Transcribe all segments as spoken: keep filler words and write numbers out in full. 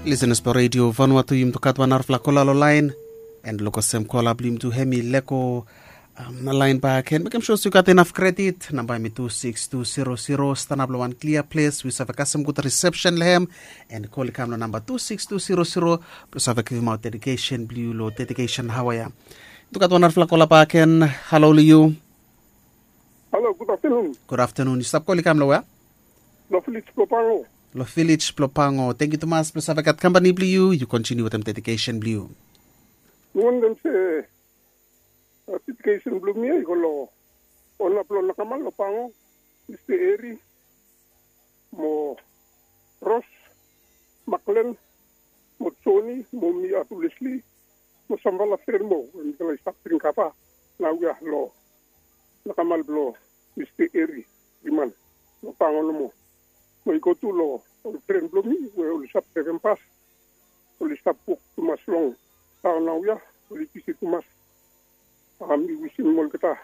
Lisenas blong redio Vanuatu, yumi tu gat wan narafala kola long laen. And luk olsem kola blong yumi tu hem i lego laen baken. Mekem sua se yu gat inaf kredit. Namba hem i tu sikis tu sero sero. Stanap long wan klia ples we yu save kasem gud risepsen long hem. And kol i kam long namba tu sikis tu sero sero blong save givimaot dedikesen blong yu long dedikesen haoa ya. Tu gat wan narafala kola baken. Halo long yu. Halo, gud aftenun. Gud aftenun. Yu stap kol i kam long wea? Long vilej blong Pango. Long vilej blong Pango. Tangkiu tumas blong save gat kampani blong yu. Yu kontiniu wetem dedikesen blong yu. Mi wantem se dedikesen blong mi ya i go long ona blong nakamal long Pango, Mista Eri, mo Ros, Maklen, mo Joni, mo mi atu Lesli, mo samfala fren moa we mitala i stap dring kava naoia long nakamal blong Mista Eri Riman long Pango nomo. Mo i go tu long ol fren blong mi we oli stap draiven bas, oli stap wok tumas long taon naoia, oli bisi tumas. Mi wisim olgeta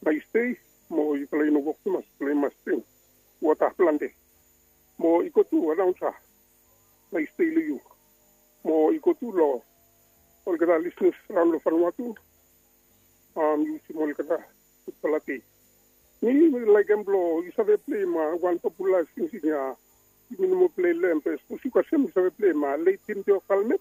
naes dei, mo yufala i no wok tumas, yufala i mas dring wota plante. Mo i go tu anaonsa, naes dei long yu. Mo i go tu long olgeta lisenas raon long Vanuatu. Mi wisim olgeta gudfala dei. Mi mi laekem blong yu save pleim wan popular singsing ya. Yumi no moa plei long hem be sapos yu kasem yu save pleim Late Tintio Kalmet.